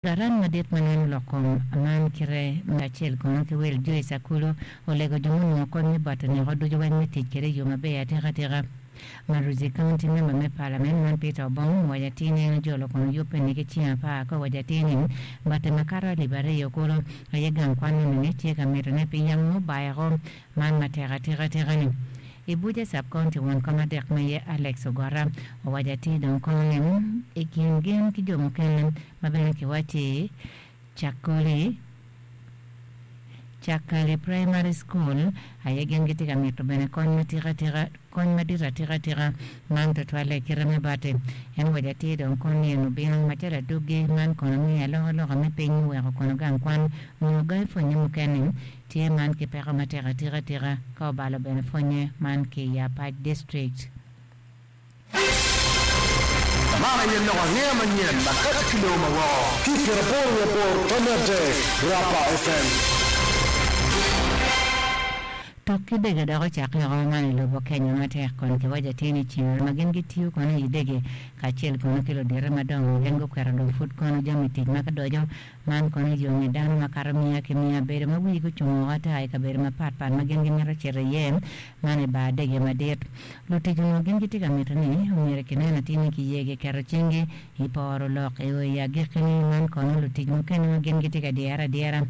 Karan madit ma neno lok kom man kite kacel kono ki wil Joyce Akulu olego jo munongo kony me bot oneko ducu weng me tic kwede i yo maber atika tika. Maruzi County member me parliament man Peter Obong owaco atir ni en ojolo kono yubbe ni ki ceng apar ka owaco atir ni bate makato alip ariyo kulu aye gang kwan enini tye ka mito ne pi yamo mubayoko man matek atika tika ni. I Buja Sub-County won kom adek ma iye Alex Ogota owaco atir dong kono ni i kin gin ki jo mukene ma bene kiwacci Cakoli Cakali Primary School aye gin gitye ka mito bene kony ma tika tika kony madit atika tika man tutwalle i kite me bati. En owaco atir dong kono ni en obino macalo adwogi man kono miyo alokaloka me piny muweko kono gang kwan onongo gai pwonye mukene Tye man ki peko matek atika tika ka obalo bene pwonye man ki i Apac District. Man aye lok angeya manyen ma kati ki lobo ma woko. Ki pyeraboro wiye aboro tonne adek, Rapa FM. Tuk ki dege dok ocakke oko man i lobo Kenya matek kun kiwaco atir ni ceng ma gin gitiyo kono i dege kacel kono ki ludite madongo gin guketo dong pud kono jami tic ma kidoco Man kono yo nge dano makato miya ki miya bedo ma wigi gucung woko ata i kabedo mapat pat ma gin gimito cito iye, man i bar dege madit. Lutic onongo gin gitye ka mito ni omyero kinen atir ni kiye giketo cinggi i poro lok i o i agikkine. Man kono lutic mukene ma gin gitye ka dyere adyera.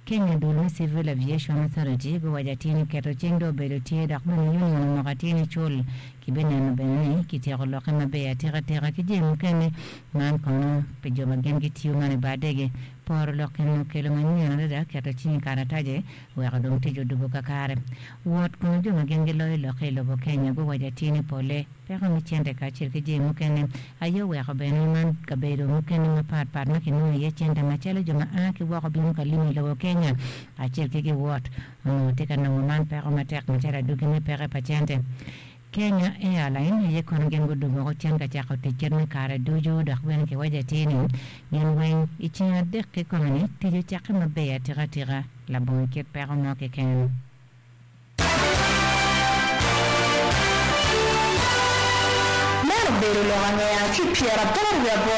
Kenya dul me Civil Aviation Authority guwaco atir ni keto cing dong obedo tye dok bene union omoko atir ni cul Kibineno bene ni kityeko lokke maber atikatika ki jami mukene. Man kono pi jo ma gin gitiyo man i bar dege. Poro lok eni okelo manyen adada keto cing i karatace weko dong tic odubo kakare. Wot kono jo ma gin giloyo lokke i lobo Kenya guwaco atir ni pole peko me cente kacel ki jami mukene aye oweko bene man kabedo mukene mapat pat ma kinongo iye cente macalo jo ma a ki woko bino ka limo i lobo Kenya kacel ki giwot Onongo tye ka nongo man peko matek macalo adwogi me peke pa cente. Kenya Airline aye kono gin gudugo woko cen ka cako tic kit me kare ducu dok bene kiwaco atir ni gin weng i ceng adek kikome ni tic ocakke maber atika tika labongo kit peko mo keken. Meno obedo lok angeya ki pyeraboro wiye aboro.